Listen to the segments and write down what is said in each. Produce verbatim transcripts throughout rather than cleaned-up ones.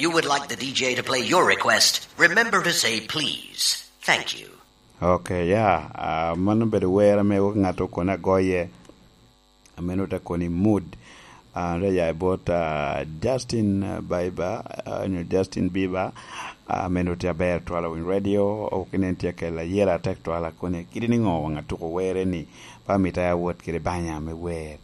you would like the D J to play your request, remember to say please. Thank you. Okay, yeah. Ah, mano obedo wer ame wek ŋat okone agoye. Ameno te koni mood. Ah, te ya i bot, ah, Justin, ah, Bieber, ah, nyo Justin Bieber. Ah, ameno tye aber twala winy radio. Ok inen tye kela yela tek twala koni. Kidi ni ŋo waŋ atuko were ni. Pa mita ya wot kede banya me wer.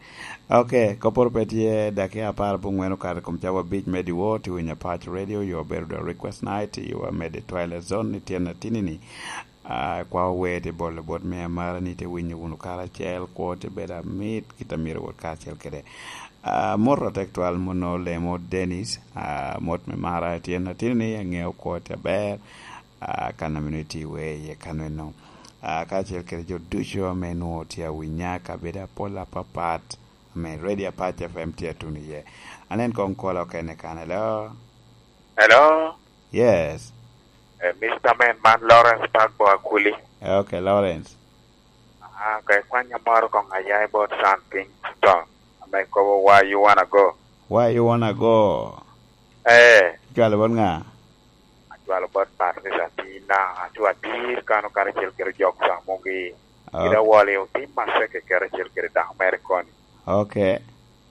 Ok, koporo pe tye dakika apar abongwen okato i kom cawa abic me diwo, tye winyo Apac Radio, yo bedo the request night, yo amede Twilight Zone, ni tyen atini ni. Ah, kwa wer tye bolo bot me amara ni tye winyo wunu karacel, kwo tye bedo amit, kit a myero wot karacel kede. Ah, mot atek twal muno lemo Dennis, ah, mot me mara tyen atini ni angeo kwo tye aber, ah, kan amino iti wer iye kan eno. Ah, kacel kede jo ducu ame nwo tye awinya kabedo apol apapat. Amen. Radio Apac F M tye atuno iye. Anen kong kola okene kan, hello? Hello? Yes. Eh, Mister Man, man Lawrence Pagbo Akuli. Eh, okay, Lawrence. Ah, ka ikwanya moro kong aya i bot San Kingston. Ame kobo, "Why you wanna go?" Why you wanna go? Eh. Icwalo bot ŋa? Acwalo bot Patrice Atina, acu atir kano karacel kede jok Samugi. Ah. Kede awoli otim maseke karacel kede dako mere koni. Okay.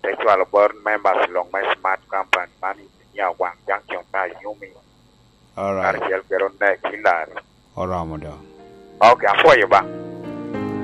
Te cwalo bot members luŋ me Smart Company, man i Nia Waŋ Junction me Ayumi. All right. Karacel kede Onek Hillary. Oromo do. Okay, apwoyo ba.